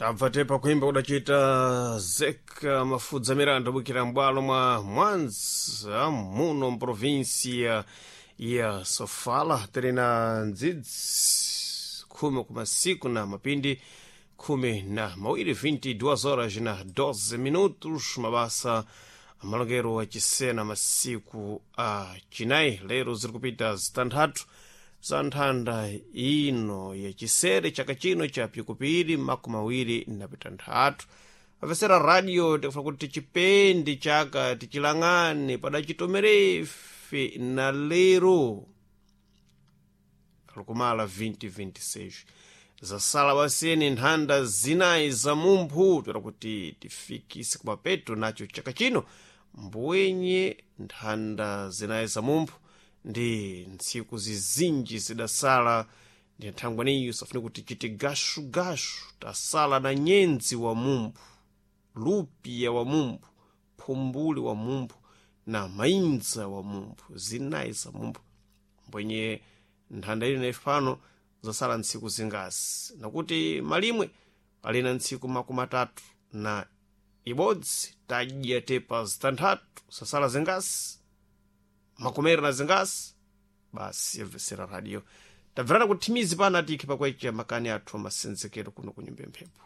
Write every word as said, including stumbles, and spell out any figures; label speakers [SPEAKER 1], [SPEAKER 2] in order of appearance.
[SPEAKER 1] Tabva tepa kuimba kudachita Zeka Mafudza Miranda bukira m'bwalo mwa Mwanza muno mprovinsia ya Sofala. Tili na ndzidzi khumi kumasiku na mapindi khumi na mawiri, vinte e duas horas na doze minutos. Mabasa amalongero achisena masiku a chinayi lero ziri kupita zitanthatu za nthanda ino yachisere chaka chino cha pikupiri makumi awiri na pitanthatu. Apesera radio, tikufuna kuti tichipendi chaka, tichilang'ane padachitomerefe na lero alikumala makumi awiri makumi awiri na zisanu, zasala baseni nthanda zinayi za mumphu toera kuti tifikise kumapeto nacho chaka chino. Mbwenye nthanda zinayi za mumphu ndi ntsiku zizinji zidasala, ndi nthangwaniyo safune kuti chiti gashugashu. Tasala na nyenzi wa mumphu, lupiya wa mumphu, phumbuli wa mumphu na mainza wa mumphu, zinayi za mumphu. Mbwenye nthanda ili naifano zasala ntsiku zingasi, nakuti malimwe alina ntsiku makumi atatu na ibodzi, tadya tepa zitanthatu, sasala zingasi? Makomera na zingasi basi. Yabvesera radio, tabverana kuthimizi pana tikhe pakwecha makani athu amasenzekero kuno kunyumba mphepo.